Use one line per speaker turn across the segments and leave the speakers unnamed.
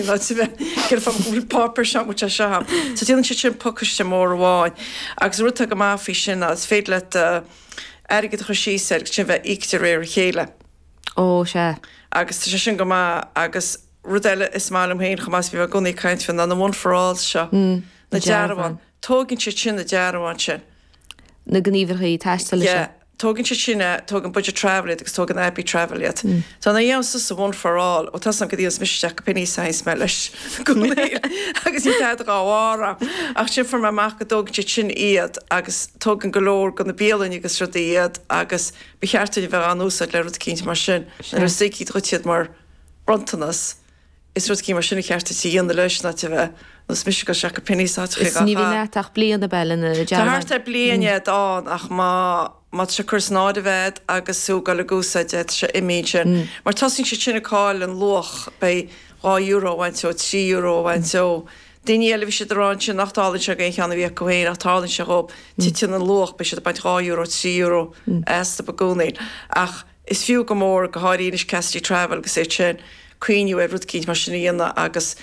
Ná céard fáth go bhfuil páipéar seo muid seo ann. So déanann siad sin pacáiste mór amháin agus an rud atá go maith faoi sin ná is féidir leat airgead a chur síos air agus sin bheith íoctha de réir a chéile.
Ó, sea.
Agus tá sé sin go maith agus rud eile is maith liom féin chomh maith is bhí mé i gcónaí ag caint faoi ná na One for Alls seo. Na dearbháin. Tógann siad sin na dearbháin sin.
Na gníomhaireachtaí taistil
seo. Yeah. Tógann siad sin é, tógann Budget Travel iad agus tógann Abbey Travel iad. So nuair a dhéanaim suas One for All, ó tá 's agam go dtéanns mise isteach go Penneys a théanns mé leis i gcónaí agus níl tada dhá bharr ann. Ach sin fuair mé amach go dtógann siad sin iad agus tógann go leor de na bialainn agus rudaí iad agus ba cheart dúinn a bheith á n-úsáid le rud eicínt mar sin. Nuair is íoctha dhuit iad mar bronntanas. Is rud eicínt mar sin ba cheart duit a dhéanamh leis ná a bheith nós mise ag dul isteach go Penneys áiteachaí
Is ní bhíonn agat ach bliain ab ea lena
Tá dearbhán. thart ar bliain iad ann ach má má tá sé curtha san áireamh a'd agus tú ag dul ag úsáid é tá sé imithe ansin. Mar tosaíonn siad sin ag cailleadh an luach beidh €2 a bhaint ó, €3 a bhaint ó. Daoine eile bhí siad ag rá ansin nach dtarlaíonn sé d'aon cheann a bhí acu féin ach tarlaíonn sé dhóibh, titeann an luach beidh siad ag baint €2, €3 astu i gcónaí. Ach. Is fiú go mór, go háirithe anois Cassidy Travel agus iad sin, cuimhniú ar rud eicínt mar sin a dhéanamh agus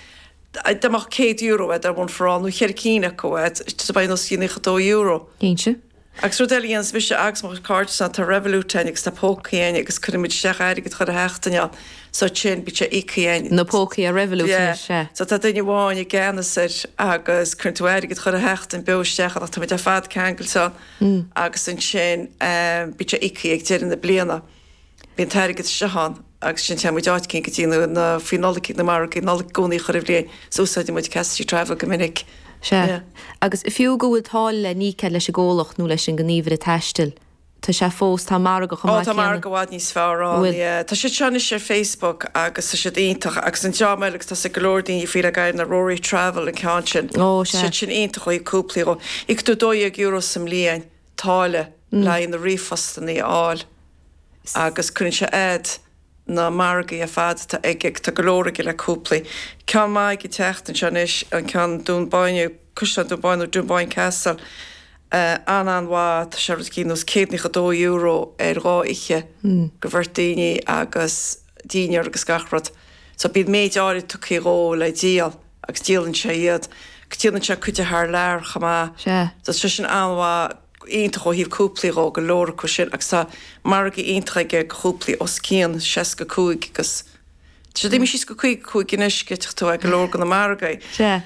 dá mbeadh €100 a'd ar One for All nó cheithre cinn acu a'd, beidh os cionn €92.
Cinnte.
Agus rud eile a dhéanas mise agus mo chuid cairde ná tá Revolut a'inn agus tá pócaí a'inn agus cuireann muid isteach airgead chuile sheachtain ann so ansin bíonn sé íoctha a'inn.
Na pócaí ar Revolut
Yeah. anois, sea. So tá duine amháin i gceannas air agus cuireann tú airgead chuile sheachtain beo isteach ann ach tá muid ar fad ceangailte ann. agus ansin bíonn sé íoctha ag deireadh na bliana. Bíonn an t-airgead isteach ann agus ansin téann muid áit eicínt go dtí na faoi Nollaig na margaí Nollag i gcónaí chuile bhliain so úsáideann muid Cassidy Travel go minic.
Sea. Agus fiú go bhfuil táille le n-íoc leis an gcomhlacht nó leis an ngníomhaire taistil, tá sé fós, tá margadh chomh
maith céanna. Ó tá margadh i bhfad níos fearr ann, yeah. Tá siad seo anois ar Facebook agus tá siad iontach agus an dream eile agus tá 's ag go leor daoine faoi le gairid ná Rory Travel an ceann sin.
Ó sea.
Tá siad sin iontach ó thaobh cúplaí dhó. Íocann tú €12 sa mbliain táille le haghaidh na ríomhphostanna a fháil agus cuireann sé add na margaí ar fad atá aige, tá go leor aige le cúplaí. Ceann maith ag an tseachtain seo anois, an ceann Dún Bóinne, Caisleán Dún Bóinne nó Dunboyne Castle, an-an-mhaith, tá sé rud eicínt nós €192 ar dhá oíche go bheirt daoine agus dinnéar agus gach rud. So bíonn méid áirid tugtha dhó le díol agus díolann sé iad. Déanann sé cuid de thar lear chomh maith.
Sea.
So tá sé sin an-mhaith, iontach ó thaobh cúplaí dhó, go leor acu sin agus tá margaí iontach aige go chúplaí os cionn 65 agus tá siad imithe síos go 55 anois, gheobhaidh tú go leor de na margaí.
Sea.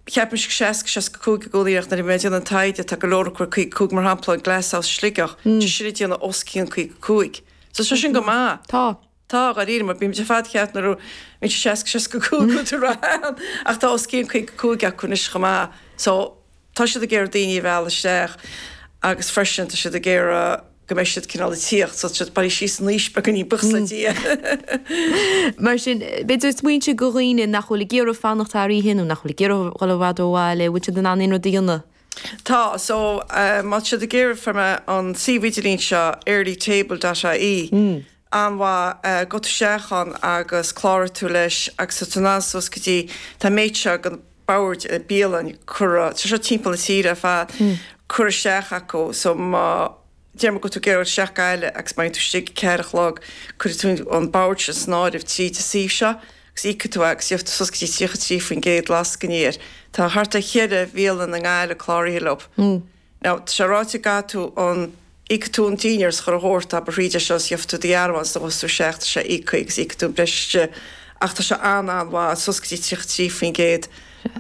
Cheapaimis 60, 65 i gcónaí ach nuair a bhí mé ag déanamh an taighde tá go leor acu ar 55 mar shampla an Glasshouse Sligeach, tá sin ag déanamh os cionn 55. So tá sin go maith.
Tá.
Tá, dháiríre, mar bímid ar fad ag ceapadh nuair a bhíonn sé 60, 65 go bhfuil ann ach tá os cionn 55 acu anois chomh maith. So tá siad ag iarraidh daoine a mhealladh isteach agus freisin tá siad ag iarraidh go mbeidh siad cineál ag tíocht so tá siad bailithe síos in aois beagáinín buíochas le Dia.
Mar sin, b'fhéidir smaointe go dhaoine nach bhfuil ag iarraidh fanacht thar oíche nó nach bhfuil ag iarraidh dhul i bhfad ó bhaile, bhfuil siad in ann aon rud a dhéanamh?
Tá, so má tá siad ag iarraidh fuair mé an suíomh idirlín seo earlytable dot ie an-mhaith, gabh tú isteach ann agus cláraigh tú leis agus tá tú in ann suas go dtí, tá an méid seo den boird bialann curtha, tá seo timpeall na tíre ar fad, curtha isteach acu so má deir muid go bhfuil tú ag iarraidh isteach Gaillimh agus má bhíonn tú istigh ag ceathair a chlog cuirfidh tú an bord sin san áireamh tríd an suíomh seo agus íocfaidh tú é agus gheobhaidh tú suas go dtí 33% lascainí air. Tá thart ar cheithre bhialann i nGaillimh cláraithe leo. Now, tá sé ráite go gcaithfidh tú an, íocfaidh tú an dinnéar is chuile shórt, abair thríd é seo is gheobhaidh tú do dhearbhán is gabhfaidh tú isteach, tá sé íoctha agus íocfaidh tú an breis istigh. Ach tá sé an-an-mhaith, suas go dtí 33%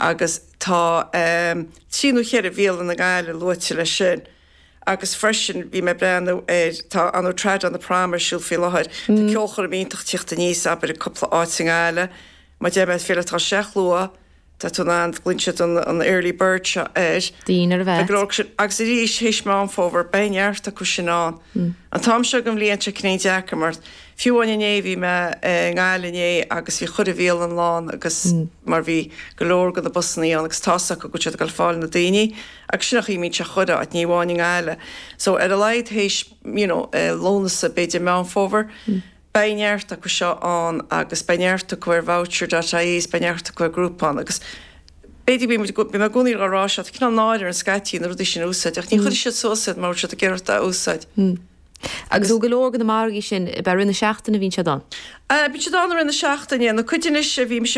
agus tá trí nó cheithre bhialann i nGaillimh luaite leis sin. Agus freisin bhí mé ag breathnú ar, tá an Trad on the Prom ar siúl faoi láthair, tá ceolchoirm iontach tíocht aníos, abair, i gcúpla áit i nGaillimh. Má deir mé is féidir leat dul isteach luath, Tá tú in ann, glaonn siad an early bird seo air.
Dinnéar a bheith.
Go leor acu sin. Agus arís, théis Meán Fómhair, beidh neart acu sin ann. An t-am seo den bhliain, tá sé cineál deacair mar fiú amháin inné, bhí mé i nGaillimh inné agus bhí chuile bhialann lán agus mar bhí go leor de na busannaí ann agus tá's acu go bhfuil siad ag dul fáil na daoine agus sin an chaoi a mbíonn sé chuile áit, ní amháin i nGaillimh. So ar a laghad théis, you know, Lúnasa, b'fhéidir Meán Fómhair, Beidh neart acu seo ann agus beidh neart acu ar voucher dot ie is beidh neart acu ar Groupon agus b'fhéidir bíonn muid, bím i gcónaí á rá seo, tá cineál náire orainn scaití na rudaí sin a úsáid ach ní chuirfidh siad suas iad mura bhfuil siad ag iarraidh a úsáid.
Agus go leor de na margaí sin, ab ea i rith na seachtaine a bhíonn siad ann?
Bíonn siad ann i rith na seachtaine. Na cuid anois a bhí mise.